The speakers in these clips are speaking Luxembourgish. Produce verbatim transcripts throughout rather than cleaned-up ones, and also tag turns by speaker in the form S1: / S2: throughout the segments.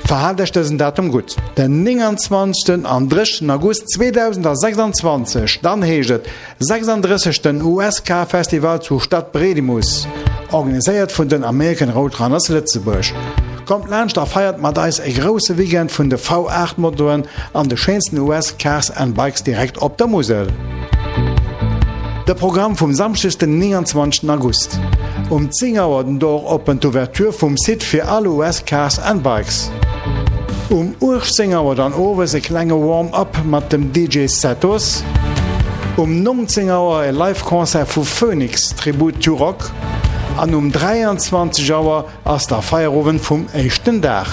S1: Verhaalt Iech dësen Datum gutt, den nénganzwanzegsten an drëssigsten August zweedausendsechsanzwanzeg, dann heescht et sechsanddrëssegsten U S K Festival zu Stadbredimus, organiséiert vun den American Roadrunners Lëtzebuerg. Kommt laanscht a feiert mat eis e grousse Weekend vun de V acht Motoen an de schéinsten U S Cars and Bikes direkt op der Musel. De Programm vum Samschdeg den nénganzwanzegsten August. Um zéng Auer den Door open d'Ouverture vum Site fir all U S Cars and Bikes. Um uechtzéng Auer dann owes e klenge Warm-up mat dem D J Setos. Um nonzéng Auer e Live-Concert vu Phoenix Tribute to Rock. An um dräianzwanzeg Auer ass der Feierowend vum éischten Dag.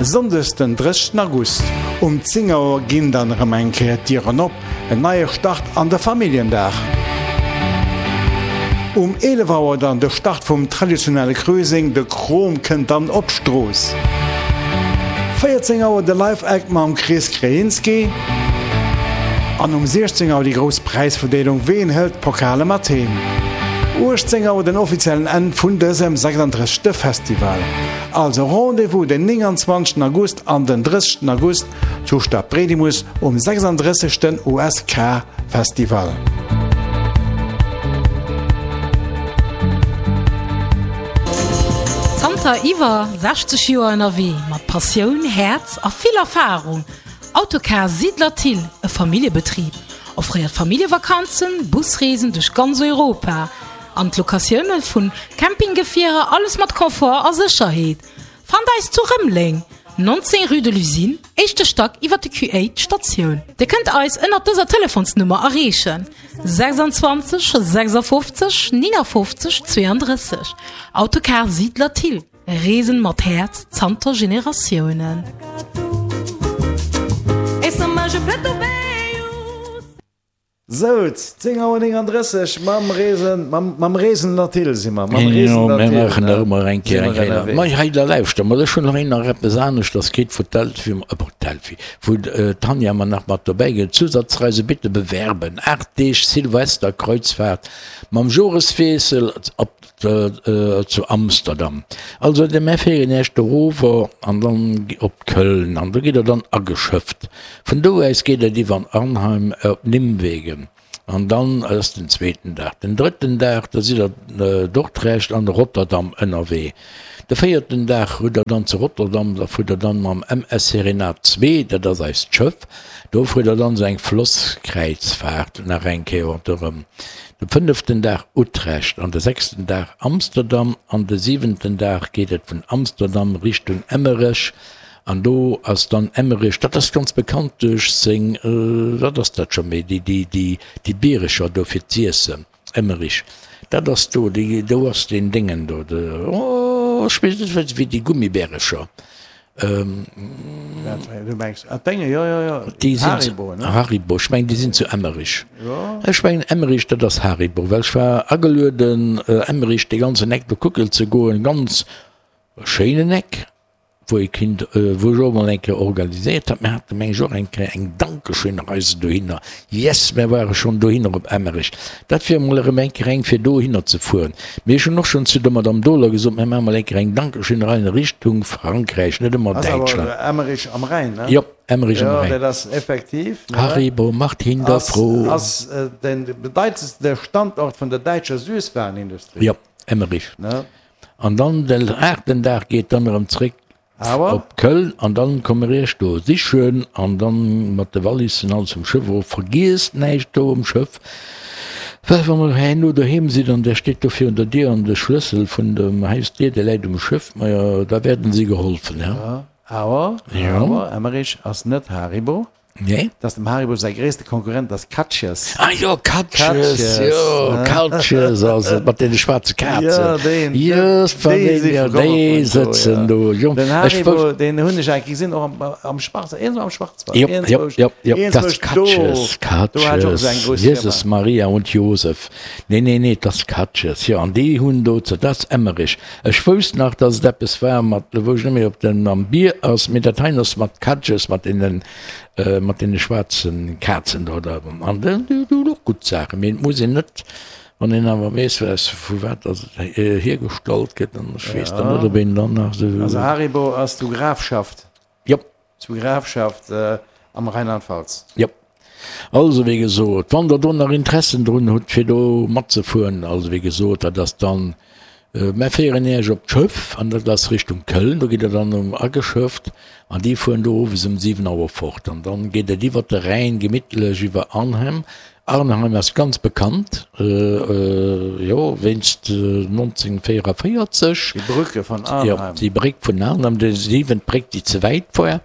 S1: Sonndes den drëssigsten August. Um zéng Auer ginn dann erëm eng Kéier d'Dieren op, en neie Start an de Familljendag. Um eelef Auer dann de Start vum traditionelle Cruising, de Krom kënnt dann op d'Strooss. véierzéng Auer de Live-Act mam Chris Krajinski. An um siechzéng Auer déi grouss Präisverdeelung, ween hëlt d'Pokale mat heem? Uechtzéng Auer den offiziellen Enn vun dësem sechsanddrëssigste Festival. Also Rendez-vous den nénganzwanzegsten August an den drëssigsten August zu Stadbredimus um sechsanddrëssigsten U S K Festival.
S2: Zanter iwwer sechzeg Joer ënnerwee mat Passioun, Häerz a vill Erfarung. Autocar Siedler Thill, e Familljebetrib, offréiert Familljevakanzen, Busreesen duerch ganz Europa an d'Locatioune vun Campinggefierer, alles mat Komfort a Sécherheet. Fannt eis zu Rëmeleng, neunzehn Rue de l'Usine, éischte Stack iwwer de Q acht Statioun. Dir kënnt eis ënner dëser Telefonsnummer erreechen: sechsundzwanzeg sechsundfünfzig neunundfünfzig zweiunddrësseg. Autocar Siedler Thill. Reesen mat Häerz zanter Generatiounen.
S1: So, zéng Auer neununddrësseg, mam Reesen, mam, mam Reesen nach Thill si mer, mam Reesen
S3: Ja,
S1: nach
S3: mir
S1: Thill,
S3: machen
S1: ne?
S3: da immer eng Kéier,
S1: Sind
S3: eng
S1: wir
S3: Kéier.
S1: ënnerwee.
S3: Ma hei, da lauschter mal, ech hunn nach een nach eppes anescht, das geht vu Delphi, äh, vu Delphi, vu, äh, Tanja mer nach mat dobäi ginn. Zusatzreise bitte bewerben. Acht Deeg Silvesterkreuzfahrt mam Joreswiessel op, äh, zu Amsterdam. Also, de mir fahren erst darüber an dann op Köln an da geht er dann ageschöpft. Von do aus geht er iwwer Arnheim op Nimwegen. An dann ass den zweiten Tag. Den dritten Tag, da sind er, äh, Dordrecht an Rotterdam ënnerwee. De vierten Tag huet er dann zu Rotterdam, da fuhr er dann mam M S Serenade zwei, dat ass eist Schëff, do fuhr er dann so eng Flosskreuzfahrt nach eng Kéier rundherum. De fünften Tag Utrecht, an de sechsten Tag Amsterdam, an de siebenten Tag geht et vun Amsterdam Richtung Emmerich. An do ass dann Emmerich, dat ass ganz bekannt duerch seng, äh, wat ass dat schon méi, déi, déi, déi, déi Bierecher do fir d'Iessen, Emmerich. Dat ass do, déi, do ass den Dingen do, de, oh, ich weiß nicht, wéi déi Gummibärecher. Ähm,
S1: Du meinst, ah, Dinge, ja, ja, ja.
S3: Die sind
S1: Haribo, ne?
S3: Haribo, ich mein, die sind zu Emmerich.
S1: Ja.
S3: Ich mein, Emmerich, das ist Haribo, weil ich war angeluden, äh, Emmerich, die ganze Eck do kuckeln zu gehen, ganz schönen Eck, wo ich Kind, äh, wo ich auch mal eng Kéier organisiert hab. Mir hatten mensch auch eng Kéier eng Dankeschön-Reise dohinner. Yes, wir waren schon dohinner op Emmerich. Dat wär mal erëm eng Kéier eng fir dohinner ze fuhren. Mir schon noch schon zu der Madame Dohler gesagt, wir machen mal eng Kéier eng Dankeschön-Reise in Richtung Frankreich, nicht immer
S1: Also aber
S3: Deutschland.
S1: Emmerich am Rhein, ne?
S3: Ja, Emmerich am
S1: Ja,
S3: Rhein.
S1: das ist effektiv, ne?
S3: Haribo macht hinter
S1: As,
S3: froh.
S1: as, äh, den bedeutendste Standort von der deutschen Süßwarenindustrie.
S3: Ja, Emmerich.
S1: Ne?
S3: Und dann den achten Tag geht dann erëm zurück
S1: Aber?
S3: op Köln an dann kommen wir erst do sichern an dann mat de Wallissen all zum Schiff, wo vergisst nicht do am Schiff. Weil wenn man hey, nur daheim sieht und der steht da für unter dir und der Schlüssel von dem heißt dir, der leidet am Schiff, na ja, da werden sie geholfen, ja.
S1: Ja, aber,
S3: Ja.
S1: aber Emmerich ist nicht Haribo.
S3: Nee.
S1: Das dem Haribo sein größter Konkurrent, das Katjes.
S3: Ah ja, Katjes,
S1: Katjes,
S3: ja,
S1: ne?
S3: Katjes, also mit den schwarzen Katzen.
S1: Ja, den,
S3: Just von
S1: den
S3: den,
S1: sind
S3: ja,
S1: gekommen
S3: die
S1: von do,
S3: sitzen
S1: ja.
S3: do. Ja,
S1: Den
S3: ich
S1: Haribo,
S3: wusste
S1: den Hund ich eigentlich gesehen, auch am, am Schwarz, irgendwo am Schwarzwald.
S3: Ja,
S1: Irgendwo
S3: ja, ja, ja,
S1: irgendwo
S3: das
S1: do.
S3: Katjes,
S1: Do hat auch
S3: Katjes,
S1: sein großes
S3: Jesus,
S1: Firma.
S3: Maria und Josef. Nee, nee, nee, das Katjes, ja, und die Hunde do, das Emmerich. Ich wusste noch, dass es etwas war, mit, wo ich nicht mehr, ob denn am Bier aus, mit der Teiners, mit Katjes, mit den, äh, mit den schwarzen Katzen da, da. Und dann, du, du, doch gut sagen, mir muss ich nicht, Wann een awer weess, vu wat dass et hiergestallt gëtt, dann ech weess dann net, ob een dann nach
S1: esou. Also Haribo ass zu Grafschaft.
S3: Jop.
S1: Zu Grafschaft am Rheinland-Pfalz.
S3: Jop. Also wéi gesot, wann der do nach Interessen drun hutt, fir do matzefueren, also wéi gesot, dat ass dann, mär féieren Iech op d'Schëff an dat ass Richtung Köln, do gitt der dann um ageschëfft an déi fueren do owes um siwen Auer fort an dann geet et iwwert de Rhäin gemittlech iwwer Arnhem Arnheim ass ganz bekannt, jo, wéinst nonzéngvéierevéierzeg.
S1: Die Brücke von Arnheim.
S3: Jo, déi Bréck vun Arnheim, déi siwent Bréck, déi ze wäit war.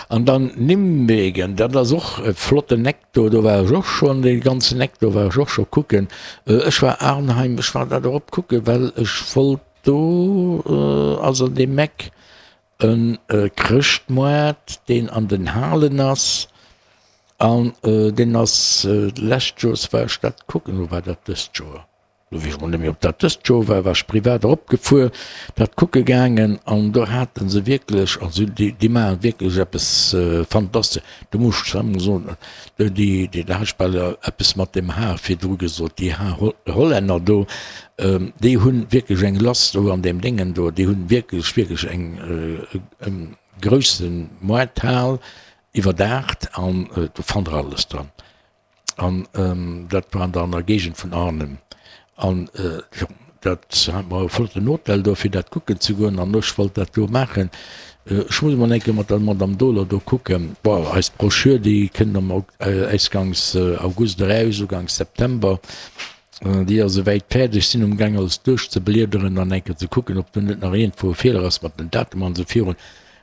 S3: An dann Nimwegen, dat ass och e flotten Eck do, do war ech och schonn, dee ganzen Eck do war ech och scho kucken. Ech war Arnheim, ech war dat erop kucken, well ech wollt do, also an deem Eck, e Chrëschtmoart, deen an den Halen ass. An deen ass d'lescht Joers war ech dat kucken, oder war dat dëst Joer? Elo weess ech mol net méi, ob dat dëst Joer war, war ech privat eropgefuer, dat kucke gaangen an do hate se wierklech, also déi, déi maache wierklech eppes Fantastesch. Do muss ech zwar emol soen, déi, déi, da hat ech bal eppes mat dem H virdru gesot, déi Hollänner do, déi hu wierklech eng lass do an deem Déngen do, déi hu wierklech, wierklech eng grousse Moarthal. Iwwerdaacht an do fannt der alles dran. An dat war an der Géigend vun Arnhem. An jo, dat hat mer e flotten Hotel do fir dat kucken ze goen an ech wollt dat do maachen. Ech muss emol eng Kéier mat der Madame Dohler do kucken. Bon, eis Broschür déi kënnt am Ausgangs August eraus, Ugangs September. Déi ass esouwäit fäerdeg. Sinn umgaang alles duerchzebliederen an eng Kéier ze kucken, ob do net nach iergendwou e Feeler ass mat den Datumer an esou virun.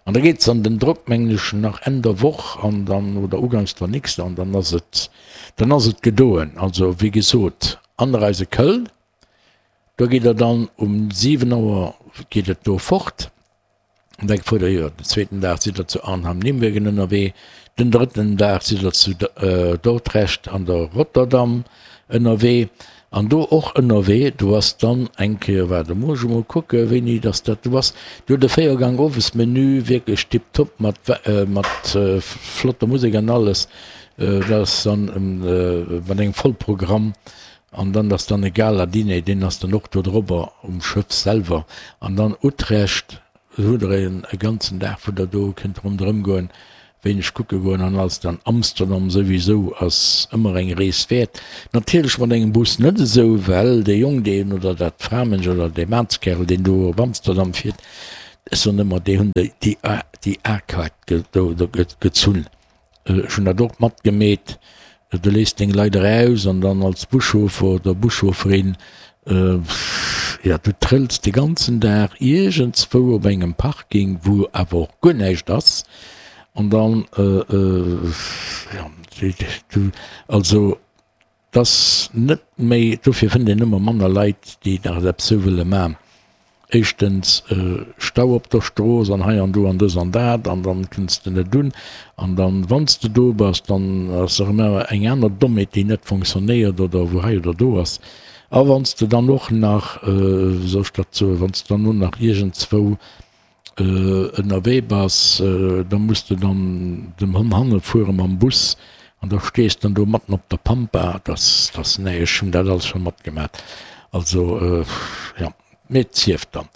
S3: An da geet se an den Drock, mengen ech, nach Enn der Woch an dann, oder uganks der nächster, an dann ass et, dann ass et gedoen. Also, wéi gesot, Anreise Köln, do gitt Der dann um siwen Auer geet et do fort an da fuert Der, jo, den zweeten Dag sidd Der zu Arnhem-Nimwegen ënnerwee, den drëtten Dag sidd Der zu Dordrecht an der Rotterdam ënnerwee. An do och ënnerwee, do ass dann eng Kéier, waart, do muss ech emol kucken, wéini dass dat do ass, do huet e Véiergang Owesmenü, wierklech tiptop mat, mat flotter Musek an alles. Dat ass dann mat engem Vollprogramm. An dann ass dann e Gala-Diner, deen ass dann och do drobber um Schëff selwer. An dann Utrecht, do hutt Der e ganzen Dag, wou Der do kënnt ronderëm goen. Wéineg kucke goen an alles. Dann Amsterdam souwisou ass ëmmer eng Rees wäert. Natierlech mat engem Bus net esou, well dee Jong deen, oder dat Framensch oder dee Maanskerl deen do op Amsterdam fiert, ech soen ëmmer déi hunn déi déi A-Kaart do gezunn. Ech hunn dat och matgemeet. Du léiss deng Leit eraus an dann als Buschauffer oder Buschaufferin, jo, du trëlls de ganzen Dag iergendswou op engem Parking, wou awer och guer näischt ass. An dann, jo, du, also 't ass net méi, dofir fënnt een ëmmer manner Leit, déi nach eppes esou wëlle man. Éischtens Stau op der Strooss an hei an do an dës an dat an dann kënns de net un an dann wann s de do bass, dann ass erëm eng aner Dommheet déi net fonctionnéiert oder wou hei oder do ass. A wann s de dann och nach, wéi soll ech dat soen, wann s de dann och nach iergendzwou ënnerwee bass, da muss de dann dem Hond hanne fuere mam Bus an da stees dann do matten op der Pampa. Dass, dass, nee, ech hunn dat alles scho matgemat. Also jo. Mee et sief dann.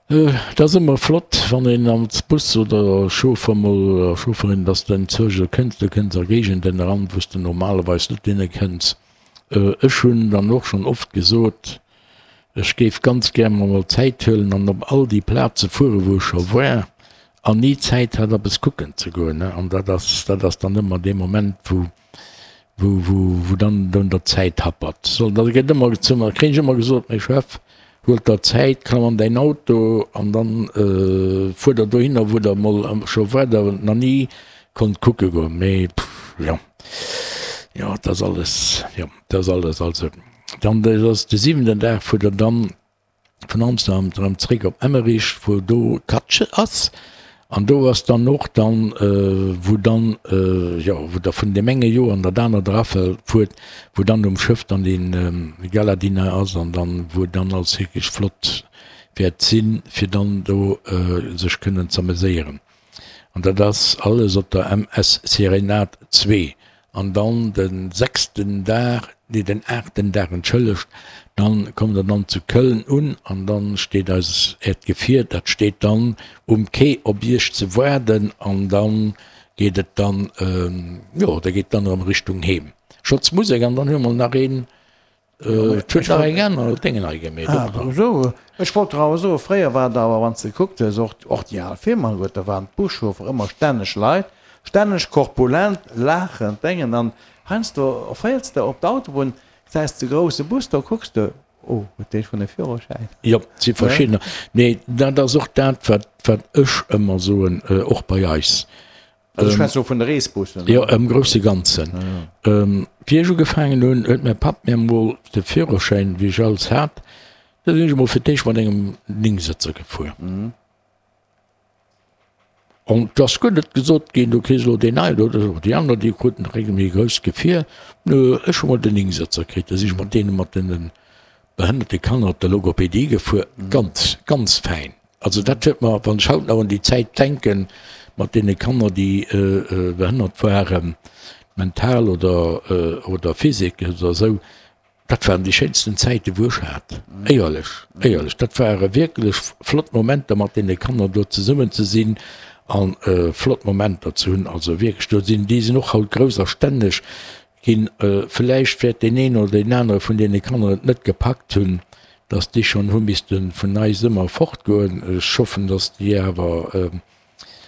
S3: Et ass ëmmer flott, wann een als Bus oder Chauffer mol, oder Chaufferin, dass de enzwousch esou kënns, du kënns a Géigenden eran, wou s de normalerweis net hinne kënns. Ech hunn dann och schonn oft gesot, ech géif ganz gär mer mol Zäit huelen an op all déi Plaze fueren, wou ech scho war an ni Zäit hat, eppes kucken ze goen. An dat ass, dat ass dann ëmmer dee Moment, wou wou, wou, wou dann un der Zäit happert. So, da gëtt ëmmer zu mer, kréien ech ëmmer gesot, Mee Chef, huelt der Zäit, klamm an däin Auto an dann fuer der dohinner, wou der mol scho waart a nach ni konnt kucke goen. Mee jo, jo, et ass alles, jo, et ass alles. Also, dann, dat ass de siwenten Dag, fuer der dann vun Amsterdam erëm zréck op Emmerich, wou do Katsch ass, an do ass dann och dann, wou dann, jo, wou der vun deem enge Joer an dat anert erafuert, wou dann um Schëff dann dee Galadinner ass an dann, wou dann alles wierklech flott wäert sinn, fir dann do sech kënnen z'ameséieren. An dat ass alles op der M S Serenade zwee. An dann de sechsten Dag, nee den aachten Dag, entschëllegt, dann kommt der dann zu Köln un an dann steet eis äert Gefier, dat steet dann um Quai op iech ze waarden an dann geet et dann, jo da geet dann erëm Richtung Heem. Schotz Musek an dann hu mer nach een. Et huet nach eng aner Déngen hei gemeet.
S1: Ah, esou. Ech wollt der awer soen, fréier war et awer, wann s de gekuckt hues, och, och déi al Filmer alleguer, da waren d'Buschauffer ëmmer stänneg Leit, stänneg korpulent, laachend Déngen. An heiansdo féiers de op d'Autobunn, gesäis de grousse Bus, da kucks de, oh, huet dee schonn e Führerschäin?
S3: Jo, et si verschiddener. Mee dat ass och dat, wat, wat ech ëmmer soen, och bei eis.
S1: Also ech schwätze lo vun de Reesbussen.
S3: Jo, am grousse Ganzen. Wéi ech ugefaangen hunn, huet mäi Papp mir emol de Führerschäin, wéi ech alles hat, da sinn ech emol fir d'éischt mat engem Néngsëtzer gefuer. An et ass guer net gesot ginn, du kriss elo deen neien oder esou. Déi aner, déi kruten direkt e méi grousst Gefier. Nö, ech hu mol den Néngsëtzer kritt. Da sinn ech mat deene mat deene behënnerte Kanner op der Logopedie gefuer. Ganz, ganz fäin. Also dat huet mer, wann ech haut nach un déi Zäit denken, mat deene Kanner, déi behënnert waren, mental oder oder physique oder esou, dat waren déi schéinsten Zäiten, wou ech hat. Éierlech, éierlech, dat ware wierklech flott Momenter, mat deene Kanner do zesummen ze sinn a flott Momenter ze hunn. Also wierklech, do sinn, déi sinn och haut grouss a stänneg ginn. Vläicht wäert deen een oder deen anere vun deene Kanner et net gepackt hunn, dass déi schonn hu misste vun eis ëmmer fortgoen. Ech hoffen, dass déi awer,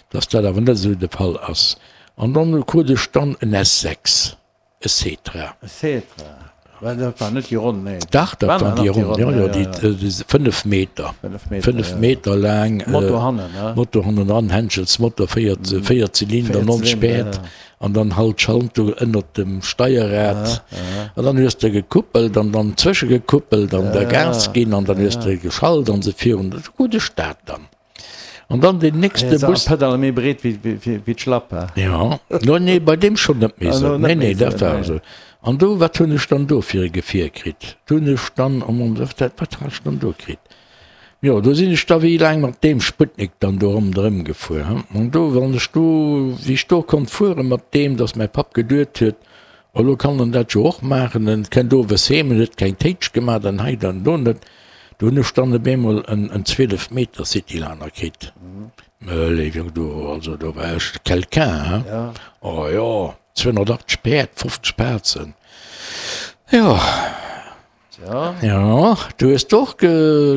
S3: dass dat awer net esou de Fall ass. An dann krut ech dann en S sechs, e Setra.
S1: E Setra, well dat war net déi ronn, nee.
S3: Dach, dat waren déi ronn, jo, jo, déi fënnef Meter, fënnef Meter laang.
S1: Motor hannen, ne?
S3: Motor hannendran, Henschelsmotor, véier, véier Zylinder, nonzeg Päerd. An dann halt d'Schaltung ënnert dem Steierrad. An dann hues de gekuppelt an dann zwëschegekuppelt an da Gas ginn an dann hues de geschalt an se virun. E gudde Start dann. An dann deen nächste
S1: Bus. Pedale méi breet wéi d'Schlapp, he?
S3: Jo, no nee, bei deem schonn net méi esou. Nee, nee, dat war esou. An do, wat hunn ech dann do fir e Gefier kritt? Do hunn ech dann, oh mon Dieu, wat hat ech dann do kritt? Jo, do sinn ech da wéi laang mat deem Sputnik dann do ronderëm gefuer. An do, wann ech do, wéi ech do konnt fuere mat deem, datt mäi Papp geduet huet, oh lo kann en dat jo och maachen, en kënnt owes heem, en huet keng Téitsch gemaach an hei an do net, do hunn ech dann op eemol en en zwielef Meter Cityliner kritt. Mä léif Jong, do, also do war ech quelqu'un, hein. Oh jo, zweehonnertachtzeg Päerd, fofzeg Pazen, jo. Jo, du hues och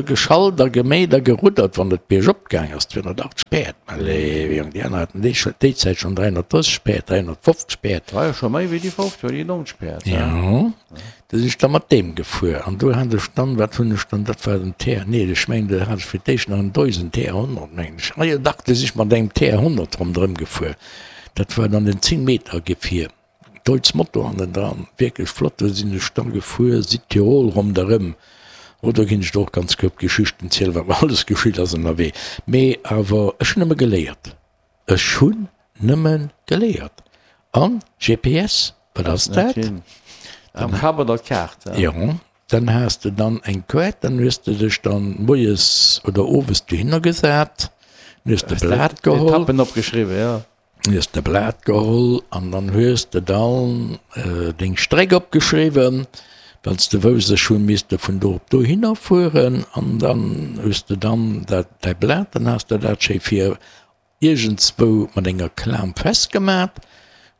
S3: geschalt a geméit a geruddert, wann et biergop gaang ass. zweehonnertachtzeg Päerd, mä léiwe Jong, déi aner haten déi Zäit schonn dräihonnertdrësseg Päerd, dräihonnertfofzeg Päerd.
S1: War jo scho méi wéi déi fofzeg oder déi nonzeg Päerd.
S3: Jo, du sinn ech da mat deem gefuer an do hat ech dann, wat hunn ech dann, dat war den T, nee, ech mengen, do hat ech fir d'éischt nach en Deusen T honnert, mengen ech. Ah jo, dach, du si ech mat engem T honnert ronderëm gefuer. Dat war dann en zéng-Meter-Gefier. Deutz Moto hannendran, wierklech flott, do sinn ech da gefuer Südtirol ronderëm, oh do ginn ech der och ganz koup Geschichten zielen, wat mer alles geschitt ass ënnerwee, mee awer ech hunn nëmme geléiert, ech hunn nëmme geléiert an G P S, wat ass dat?
S1: Am Kapp oder d'Kaart?
S3: Jo, dann has de dann eng Quête, dann hues de dech dann moies oder owes dohinner gesat, dann hues de Blat geholl.
S1: Etappen opgeschriwwen, jo.
S3: Hues de Blat geholl an dann hues de dann deng Stréck opgeschriwwen, well s de wousst, ech hu misste vun do op dohinner fueren an dann hues de dann dat däi Blat, dann has de dat schéi vir iergendswou mat enger Klam festgemat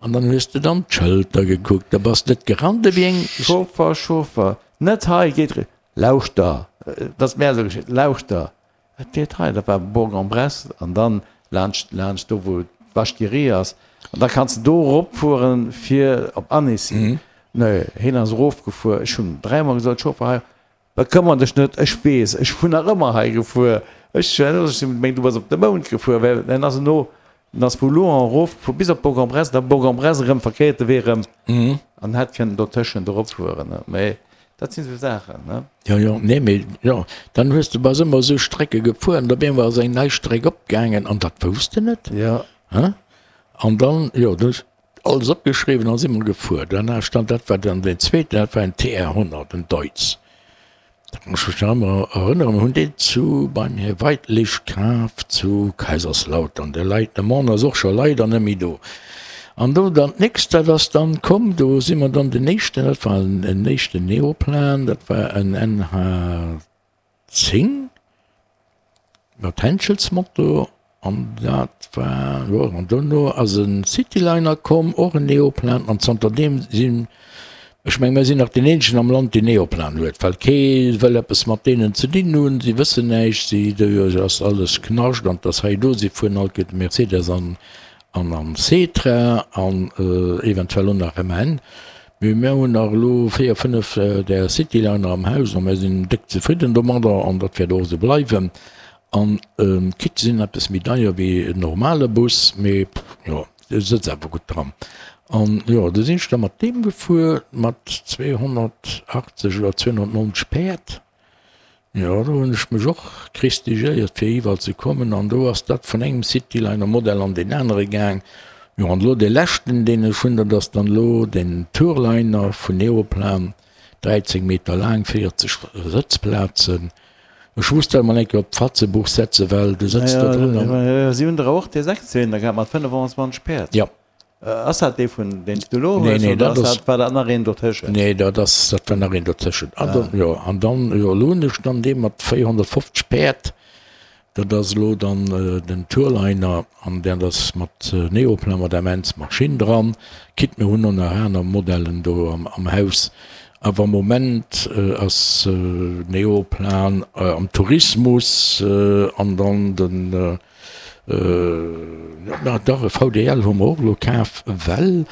S3: an dann hues de dann d'Schëlter gekuckt, da bass net gerannt ewéi eng.
S1: Chauffer, Chauffer, net hei, geet ri, lauschter, et ass mär esou geschitt, lauschter, Et geet hei, dat war Bourg-en-Bresse an dann laanscht, laanscht do wou d'Vache qui rit ass an da kanns de do eropfueren fir op Annecy. Nee, heen ass erofgefuer, ech hunn dräimol gesot, Chauffer hei, bekëmmer dech net, ech weess, ech hunn nach ëmmer hei gefuer, ech hunn gemengt du bass op de Mound gefuer, well en ass eno, en ass vu Louhans erofgefuer bis op Bourg-en-Bresse, da Bourg-en-Bresse erëm verkéierte Wee erëm an hätt kënnen dotëschent eropfueren, mee Dat sinn esou Saachen, ne?
S3: Jo, jo, nee, mee jo, dann hues de, bass ëmmer esou Strecke gefuer an op eemol ass eng nei Streck opgaangen an dat wousst de net.
S1: Jo.
S3: Hein? An dann, jo, du hues alles opgeschriwwen an si mer gefuer. Dann stand, dat war dann deen zweeten, dat war en T R honnert, en Deutz. Dat kann ech mech nach ëmmer erënneren, mir hunn deen zu, beim Här Weidlich kaf zu Kaiserslautern. De Leit, de Mann ass och scho leider net méi do. An do dann d'nächst, dat ass dann komm, do si mer dann den éischten, dat war en éischten Neoplan, dat war en N H zéng mat Henschelsmotor an dat war, jo, an dono ass e Cityliner komm, och en Neoplan an zanter deem sinn, ech meng, mir sinn nach deen eenzegen am Land, deen Neoplan huet, well kee wëll eppes mat deenen ze dinn hunn, si wëssen näischt, si, do ass alles Knascht an 't ass hei do, si fueren alt gëtt Mercedes an an an Setra an eventuell och nach M N. Mee mär hunn nach elo véier, fënnef där Cityliner am Haus a mär sinn déck zefridden domadder an dat wäert och esou bleiwen. An quitte sinn eppes méi deier wéi en normale Bus, mee jo, du sëtz awer gutt dran. An jo, du sinn ech da mat deem gefuer, mat zweehonnertachtzeg oder zweehonnertneunzeg Päerd. Jo, do hunn ech mech och christigéiert fir iwwerall ze kommen an do ass dat vun engem Cityliner Modell an deen anere gaang. Jo, an elo dee leschten deen ech hunn, dat ass dann elo den Tourliner vun Neoplan, dräizéng Meter laang, véierzeg Sëtzplazen. Ech muss dat emol eng Kéier op d'Fatzebuch setzen, well du sëtz do dran an.
S1: Si hunn der och dee Sechszylinder gehat mat fënnefantwanzeg Päerd.
S3: Jo.
S1: Ass dat dee vun deen s du elo hues oder ass dat, war dat nach een dotëschent?
S3: Nee, dat ass, dat war nach een dotëschent. An dann, jo, an dann, jo, elo hunn ech dann dee mat véierhonnertfofzeg Päerd, dat ass elo dann den Tourliner an dat ass mat Neoplan, mat M-Ens Maschinn dran. Quitte mir hunn och nach aner Modellen do am, am Haus, awer am Moment ass Neoplan am Tourismus an dann den, Dach, e V D L hu mer och elo kaf, well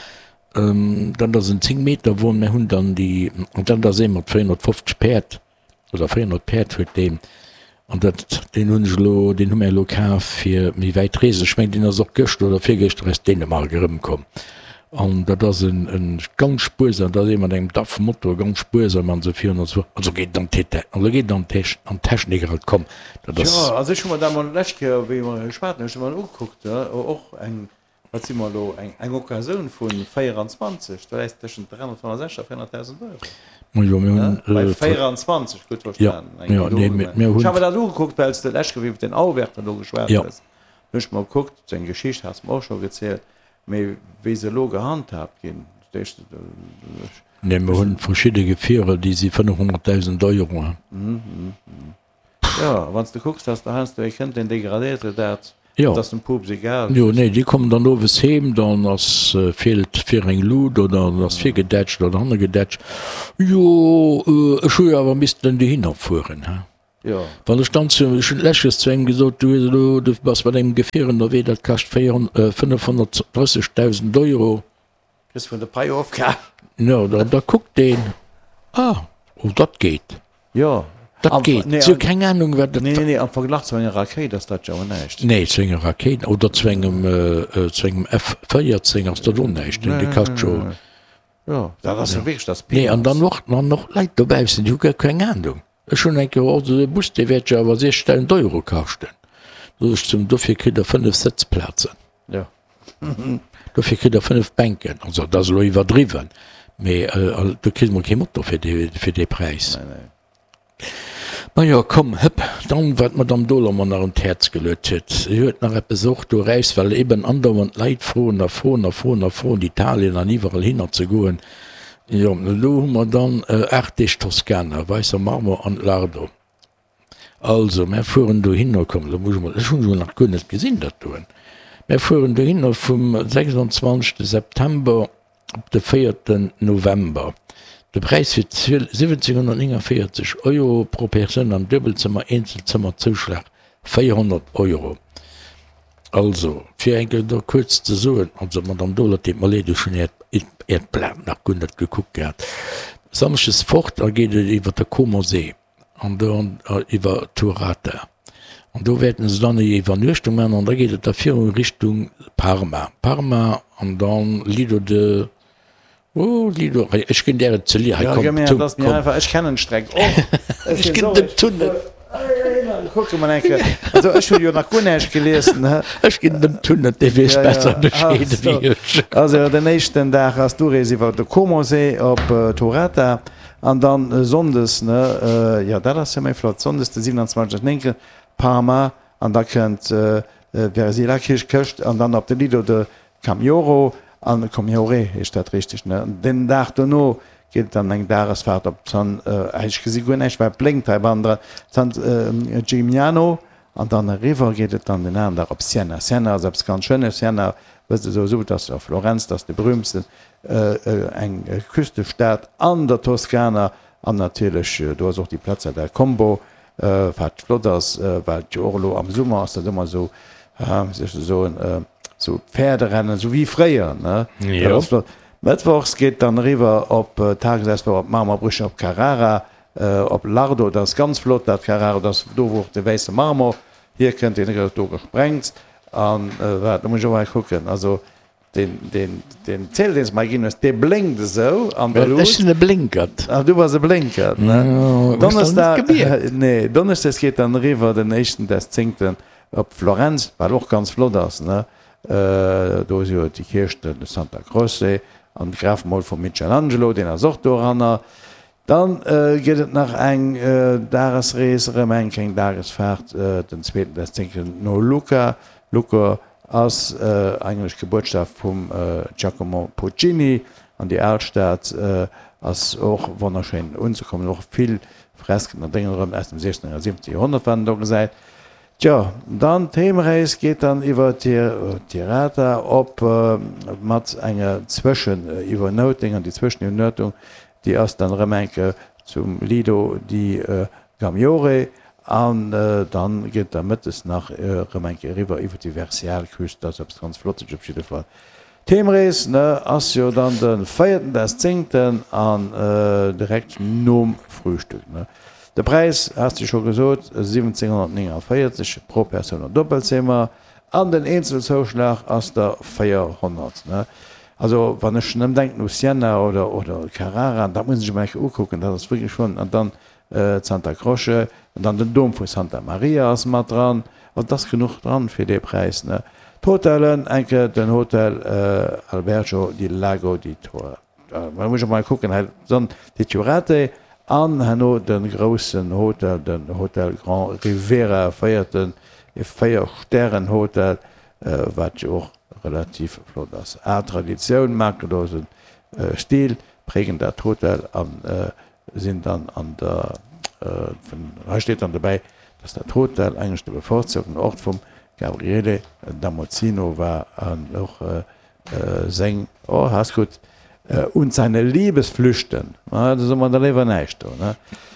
S3: dat ass en zéng Meter Won. Mir hunn dann déi, an dat ass ee mat véierhonnertfofzeg Päerd oder véierhonnert Päerd huet deen. An dat, deen hunn ech elo, deen hu mir elo kaf fir méi wäit Reesen. Ech mengen, deen ass och gëschter oder virgëschter aus Dänemark erëmkomm. An dat ass en, en ganz spuersam, dat ass ee mat engem D A F-Motor, ganz spuersam an esou virun an esou. Also geet et an d'Deta, also geet et an d'Tech, an d'Technik eran. Komm, dat ass.
S1: Jo, also ech hu mer dat mol d'lescht Kéier, wéi mer geschwat hunn, ech hu mer ugekuckt, och eng, wat si mer elo, eng, eng Occasioun vu véieranzwanzeg, do läis tëschent dräihonnertfënnefsechzeg a véierhonnertdausend Euro.
S3: Ma jo, mir hunn.
S1: Bei véieranzwanzeg, gutt verstanen.
S3: Jo, jo, nee, mir, mir hunn.
S1: Ech hu mer dat ugekuckt, well s de d'lescht Kéier iwwer den Auvergne do geschwat hues. Hunn ech mer gekuckt, seng Geschicht has de mer och scho gezielt. Mee wéi se elo gehandhaabt ginn, d'éischt ech.
S3: Nee, mer hunn verschidde Gefierer, déi si fënnefhonnertdausend Euro.
S1: Jo, a wann s de kucks, dass der heiansdo ee kënnt, deen degradéiert huet dat, dat ass dem Pups egal.
S3: Jo, nee, déi kommen dann owes heem, dann ass, feelt vir eng Lut oder ass virgedätscht oder hannergedätscht. Jo, ech hu jo awer missten dohinner fueren, he.
S1: Jo.
S3: Wann ech dann zu, ech hunn d'lescht zu engem gesot, du hues elo, du bass mat engem Gefier ënnerwee, dat kascht fënnefhonnertdrëssegdausend Euro.
S1: Kriss vun der Pai ofgehal.
S3: Jo, da, da kuckt deen, ah, oh, dat geet.
S1: Jo.
S3: Dat geet. Si hu keng Anung, wat dat.
S1: Nee, nee, nee, am Verglach zu enger Rakéit ass dat jo och näischt.
S3: Nee, zu enger Rakéit oder zu engem, zu engem F véierzéng ass dat och näischt, dee kascht jo.
S1: Jo, dat ass jo wierklech, dat ass
S3: Nee, an dann och, an och Leit dobaussen, déi hu guer keng Anung. Ech hunn eng Kéier och esou e Bus, dee wäert jo awer siechzdausend Euro kaschten. Sot ech zum, dofir kritt Der fënnef Sëtzplazen.
S1: Jo.
S3: Dofir kritt Der fënnef Bänken. Also, dat ass elo iwwerdriwwen, mee do kriss mol kee Motor fir dee, fir dee Präis.
S1: Nee, nee.
S3: Majo, komm, hëpp, dann, wat d'Madame Dohler mer nach un d'Häerz geluet huet. Si huet nach eppes och do eraus, well eben andauernd d'Leit froen a froen a froen a froen, Italien an iwwerall hinner ze goen. Jo, elo hu mer dann aacht Deeg Toskana, Weisser Marmor an Lardo. Also, mär fueren dohinner, komm, elo muss ech mol, ech hunn se nach guer net gesinn, dat doen. Mär fueren dohinner vum sechsundzwanzegste September op de véierten November. De Präis fir siwwenzeghonnertnénganvéierzeg Euro pro Persoun am Duebelzëmmer, Eenzelzëmmerzouschlag véierhonnert Euro. Also, fir eng Kéier do kuerz ze soen, also Madame Dohler, et deet mer leed, ech hunn Äert, Äert Blat nach guer net gekuckt gehat. Samschdes fort, da geet et iwwer de Comer See an do iwwer Turata an do wäerten se dann eng Iwwernuechtung maachen an da geet et da viru Richtung Parma. Parma an dann Lido de Oh, Lido, hei, ech ginn där et ze lie. Hei, komm,
S1: tu, komm. Ech kennen d'Streck och.
S3: Ech ginn dem Tunnel.
S1: Kucke mol eng Kéier. Also ech hunn jo nach guer näischt gelies, ne?
S3: Ech ginn dem Tunnel, dee weess besser Bescheed ewéi ech.
S1: Also den éischten Dag ass d'Urees iwwer de Comersee op Torata an dann sonndes, ne, jo dat ass jo méi flott, sonndes de siewenundzwanzegsten néngten Parma an da kënnt Versila, Kierch, Këscht an dann op de Lido de Camioro An Commiore heescht dat richteg, ne? An den Dag dono geet et dann eng Dagesfahrt op San, ech gesi guer näischt, well et blénkt hei bannendran, San Gimignano. An dann eriwwer geet et dann den aneren Dag op Siena. Siena ass eppes ganz Schéines. Siena, wësst Der souwisou, dat ass jo Florenz, dat ass de berühmtsten, eng Küstestad an der Toskana. An natierlech, do ass och déi Piazza del Combo, wat flott ass, well et jo och elo am Summer ass dat ëmmer esou, wéi soll ech dat soen, esou Pferderennen, esou wéi fréier, ne? Dat ass flott. Mëttwochs geet dann eriwwer op Tagesausflug op d'Marmorbrüche op Carrara, op Lardo. Dat ass ganz flott, dat Carrara, dat ass do, wou och de wäisse Marmor hierkënnt, deen gëtt do gesprengt. An wat, do muss ech och mol kucken, also deen, deen, deen Ziedel, deen s de mer ginn hues, dee blénkt esou an der Lut.
S3: Ech sinn e Blénkert.
S1: Ah, du bass e Blénkert, ne? Donneschdag, nee, Donneschdes geet dann eriwwer, den éischten des zéngten, op Florenz, wat och ganz flott ass, ne? Do si jo déi Kierch, de Santa Croce an d'Grafmol vum Michelangelo, deen ass och doranner. Dann gëtt et nach eng Dagesrees, erëm eng kleng Dagesfaart, den zweeten des zéngten no Lucca. Lucca ass eigentlech d'Gebuertsstad vum Giacomo Puccini an déi Alstad ass och wonnerschéin unzekommen, och vill Fresken an Déngen erëm aus dem siechzehnten a siwwzehnte Joerhonnert, wat een do gesäit. Tjo, dann d'Heemrees geet dann iwwer Tirata op mat enger Zwëscheniwwernoutung, an déi Zwëscheniwwernoutung, déi ass dann erëm eng Kéier zum Lido di Gammiore, an dann geet da mëttes nach erëm eng Kéier eriwwer iwwer déi Versialküst. Dat ass eppes ganz Flottes op jidde Fall. D'Heemrees, ne, ass jo dann de véierten des zéngten an direkt nom Frühstück, ne. De Präis has de scho gesot, siwwenzénghonnertnénganvéierzeg pro Persoun an Doppelzimmer an den Eenzelzouschlag ass der véierhonnert. Also wann ech nëmmen denken u Siena oder oder Carrara, dat muss ech mer eng Kéier ukucken, dat ass wierklech schonn, an dann d'Santa Croce an dann den Dom vu Santa Maria ass mat dran, also et ass genuch dran fir dee Präis. D'Hotellen, eng Kéier den Hotel Albergo di Lago di Tor. Da muss ech mol kucken hei, dann déi Turate an herno de groussen Hotel, den Hotel Grand Rivera, véierten, e Véier-Stären-Hotel, wat jo och relativ flott ass. Al Traditioun, makellose Stil prägen dat Hotel a sinn dann an der, hei steet dann dobäi, dass dat Hotel eigentlech de bevorzugten Ort vum Gabriele da Mozino war an och Seng, oh, ass gutt, und seine Liebesflüchten, ma da soe mer da léiwer näischt do, ne?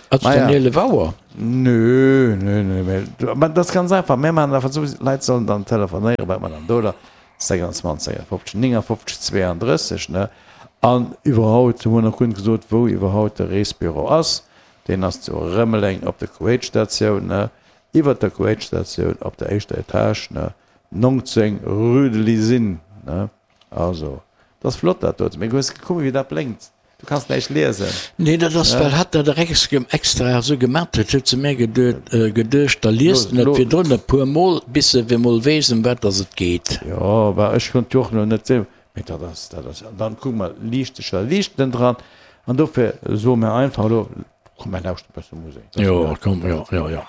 S3: Ass et dann eelef Auer?
S1: Nö, nö, nö, mä mä dat ass ganz einfach, mir maachen einfach esou, d'Leit sollen dann telefonéieren, wat mer dann do da sechsundzwanzeg, sechsundfünfzeg, néngundfünfzeg, zweeanddrësseg, ne? An iwwerhaut hu mer nach guer net gesot, wou iwwerhaut de Reesbüro ass. Deen ass zu Rëmeleng op der Kuwait-Statioun, ne? Iwwert der Kuwait-Statioun op der éischter Etage, ne? Nongzéng rue de l'Isine, ne? Also, 't ass flott dat doten, mee hues gekuckt wéi dat blénkt? Du kanns näischt liesen.
S3: Nee, dat ass well hatt dat extra esou gemat huet, huet se mär geduecht, da liest en et virdrun e puer mol, bis e emol weess ëm wat dass et geet.
S1: Jo, bah ech konnt jo och elo net sinn, mee dat ass, dat ass, an dann kucke mer, Liichtecher liichten dran, an dofir soe mer einfach elo, komm mer lauschten e bësse Musek.
S3: Jo, komm, jo, jo, jo.